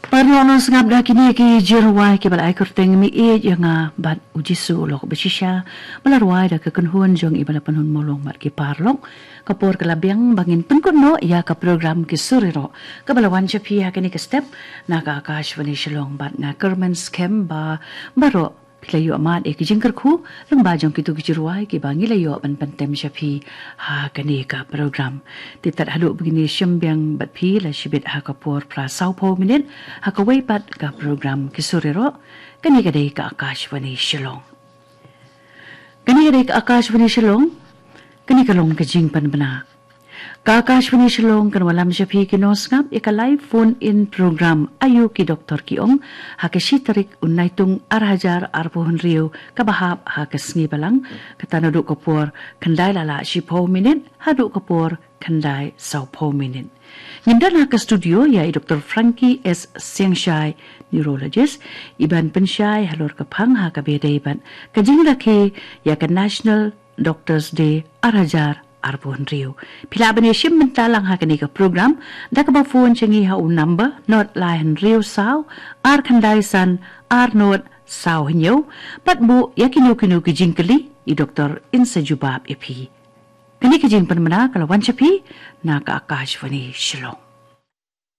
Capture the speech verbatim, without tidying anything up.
Paralok, nang sngap da kine ki jingrwai kiba la ai kyrteng Mi Ïeit ïa Nga bad U Jisu U Lok Bashisha, ba la rwai da ka kynhun jong i ba la pynhun mawlong bad ki paralok. Ka por ka la biang ba ngin pynkut noh ïa ka program Ki Sur Ïaroh kaba la wan sha phi ha kane ka step na ka Akashvani Shillong, bad nga kyrmen skhem ba baroh phi la ïoh mad ïa ki jingkyrkhu lyngba jong kito ki jingrwai kiba ngi la ïoh ban pyntem sha phi ha kane ka program. Te tad haduh ba ngin ïashim biang bad phi la shibit ha ka por phra sawphew minit ha kawei pat ka program Ki Sur Ïaroh. Kane ka dei ka Akashvani Shillong. Kane ka dei ka Akashvani Shillong. Kane ka long ka jingpynbna. Ka Akashvani Shillong kan wallam sha phi ki nongsngap ïa ka live phone in program Aïu ki doktor ki ong, ha ka shi tarik u Naitung ar hajar arphew hynriew kaba hap, ha ka sngi Balang, kata naduh ka por khyndai la lah shiphew minit haduh ka por khyndai sawphew minit. Ngin don ha ka studio ïa i Doktor Frankie S Siangshai, neurologist, i ban pynshai halor ka phang ha kaba ïadei bad ka jingrakhe ïa ka National Doctors Day ar hajar arphew hynriew. Phi lah ban ïashim bynta lang ha kane ka program da kaba phone sha ngi ha u number nod lai hynriew saw ar khyndai san ar nod saw hynñiew, bad buh ïa kino kino ki jingkylli, i doktor in sa jubab ïa phi. Kane ka jingpynbna ka la wan sha phi na ka Akashvani Shillong.